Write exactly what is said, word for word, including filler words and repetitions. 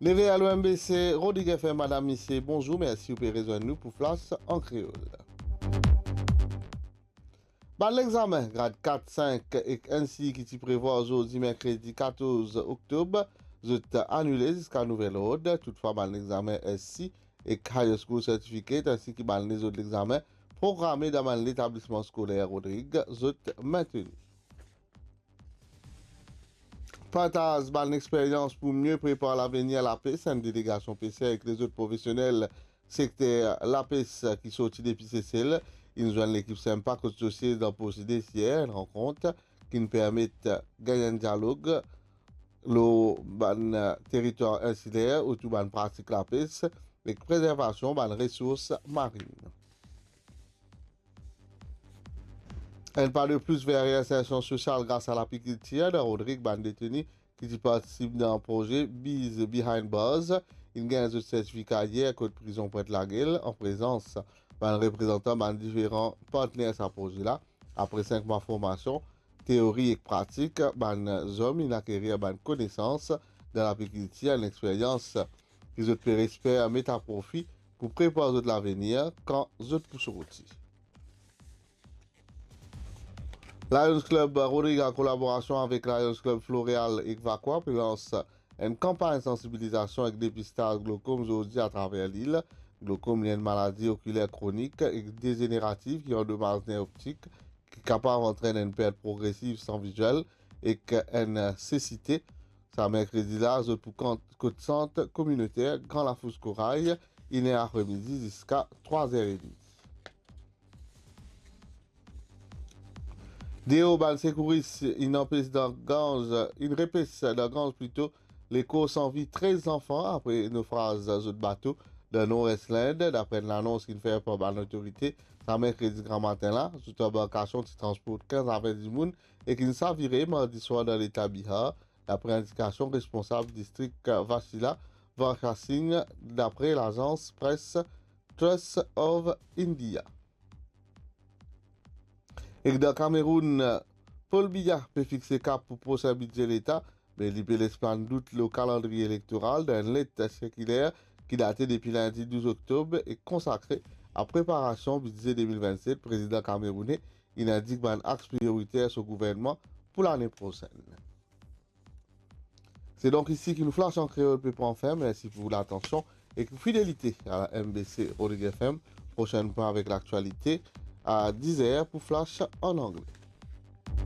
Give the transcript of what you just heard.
Neve alo M B C, Rodrig F M, madam, misie, bonzour, mersi ou pe rezwenn nou pou Flash an Kreol. Bann lexame grad kat, sink ek N C E ki ti prevwar zordi merkredi katorz oktob, zot anile ziska nouvel ord. Toutfwa, bann lexame S C E ek Higher School Certificate, ansi ki bann lezot lexame programe dan bann letablisman skoler Rodrig, zot menteni. Partaz bann experyans pou mie prepar lavenir lapes. Enn delegasion peser ek lezot profesionel sekter lapes ki sorti depi Sesel inn zwenn lekip Sempa kot Sosied dan Porsides yer. Enn rankont ki'nn permet gagn enn dialog lor bann teritwar insiler otour bann pratik lapes ek prezervasion bann resours marinn. Enn pa de plis ver reinsersion sosial gras a lapikiltir dan Rodrig. Bann deteni ki ti partisip dan proze Bees Behind Bars inn gagn zot sertifika yer kot prizon Pwint Lagel, an prezans bann reprezantan bann diferan partner sa proze la. Apre sink mwa formasion teori ek pratik, bann zom inn akerir bann konesans dan lapikiltir, enn experyans ki zot pe esper met a profi pou prepar zot lavenir kan zot pou sorti. Lions Club Rodrig, an kolaborasion avek Lions Club Floreal ek Vacoas, pe lans enn kanpagn sansibilizasion ek depistaz glokom zordi atraver lil. Glokom li enn maladi okiler kronik ek dezenerativ ki andomaz ner optik, ki kapav antrenn enn pert progresiv san viziel ek enn sesite. Sa merkredi la, zot pou kont, kot sant kominoter Gran Lafous Koray, iner apremidi ziska trwa zer edmi. Deor, bann sekouris inn anpes dan Ganz, inn repes dan Ganz plito, lekor san vi trez zanfan apre nofraz zot bato dan Nord-Est Lind, dapre enn lanons ki'nn fer par bann lotorite sa merkredi gramatin la. Zot anbarkasion ti transport kinz a ven dimoun e ki'nn savire mardi swar dan leta Bihar, dapre indikasion responsab distrik Vachila Varsha Singh, dapre lazans pres Trust of India. Ek dan Kameroun, Paul Biya pe fixe kap pou prosin bidze leta, me li pe les plann dout lor kalandriye elektoral dan enn let sirkiler ki date depi lindi douz oktob e konsakre a preparasion bidze de mil vennset. Prezidan kameroune inn indik bann aks prioriter so gouvernman pou lane prosenn. Se donk isi ki nou Flash an Kreol pe pran fin. Mersi pou latansion ek fidelite a M B C Rodrig F M. Prosenn pwin avek laktialite a diz er pou Flash an angle.